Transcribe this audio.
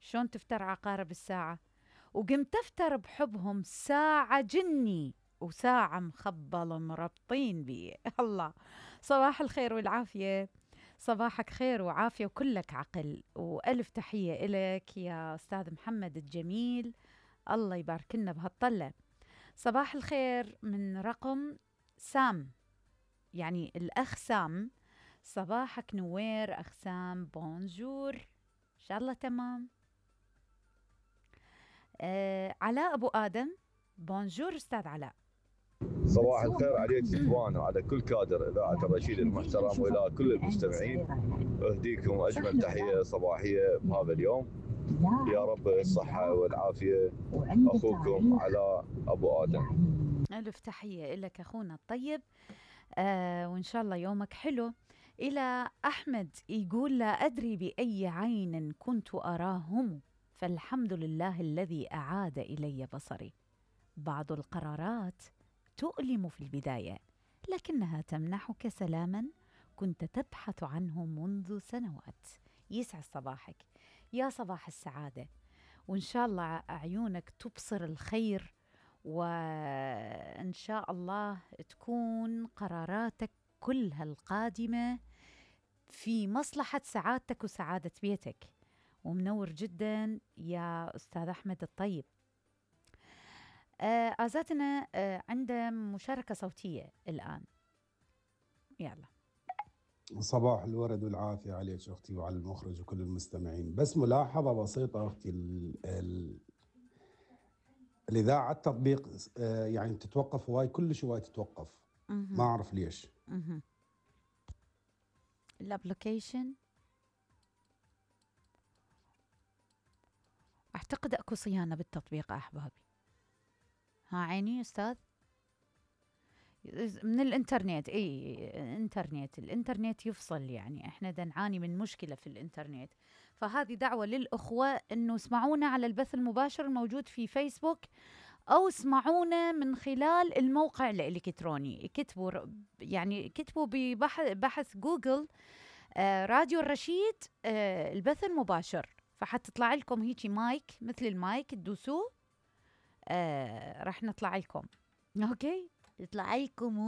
شلون تفتر عقارب الساعة؟ وقمت أفتر بحبهم ساعة جني وساعة مخبل مربطين بي. الله. صباح الخير والعافية. صباحك خير وعافية وكلك عقل، وألف تحية إلك يا أستاذ محمد الجميل. الله يبارك لنا بهالطلة. صباح الخير من رقم سام، يعني الأخ سام. صباحك نوير أخ سام، بونجور، إن شاء الله تمام. علاء أبو آدم، بونجور أستاذ علاء. صباح الخير عليك ستوان وعلى كل كادر إذاعة الرشيد المحترم وإلى كل المستمعين. أهديكم أجمل تحية صباحية بهذا اليوم، يا رب الصحة والعافية. أخوكم علاء أبو آدم. ألف تحية لك أخونا الطيب. وإن شاء الله يومك حلو. إلى أحمد يقول: لا أدري بأي عين كنت أراهم، فالحمد لله الذي أعاد إلي بصري. بعض القرارات تؤلم في البداية، لكنها تمنحك سلاما كنت تبحث عنه منذ سنوات. يسعد صباحك، يا صباح السعادة، وإن شاء الله عيونك تبصر الخير، وإن شاء الله تكون قراراتك كلها القادمة في مصلحة سعادتك وسعادة بيتك. ومنور جدا يا أستاذ أحمد الطيب. آزاتنا عنده مشاركة صوتية الآن، يلا. صباح الورد والعافية عليك أختي وعلى المخرج وكل المستمعين. بس ملاحظة بسيطة أختي، الإذاعة التطبيق يعني تتوقف هواي، كلش هواي تتوقف. ما أعرف ليش. الابليكيشن أعتقد أكو صيانة بالتطبيق أحبابي. ها عيني أستاذ، من الإنترنت. الإنترنت يفصل، يعني إحنا دا نعاني من مشكلة في الإنترنت. فهذه دعوة للأخوة أنه اسمعونا على البث المباشر الموجود في فيسبوك، أو اسمعونا من خلال الموقع الإلكتروني. كتبوا ببحث جوجل راديو الرشيد البث المباشر، فحتطلع لكم هيجي مايك، مثل المايك تدوسوه راح نطلع لكم. أوكي، يطلع لكم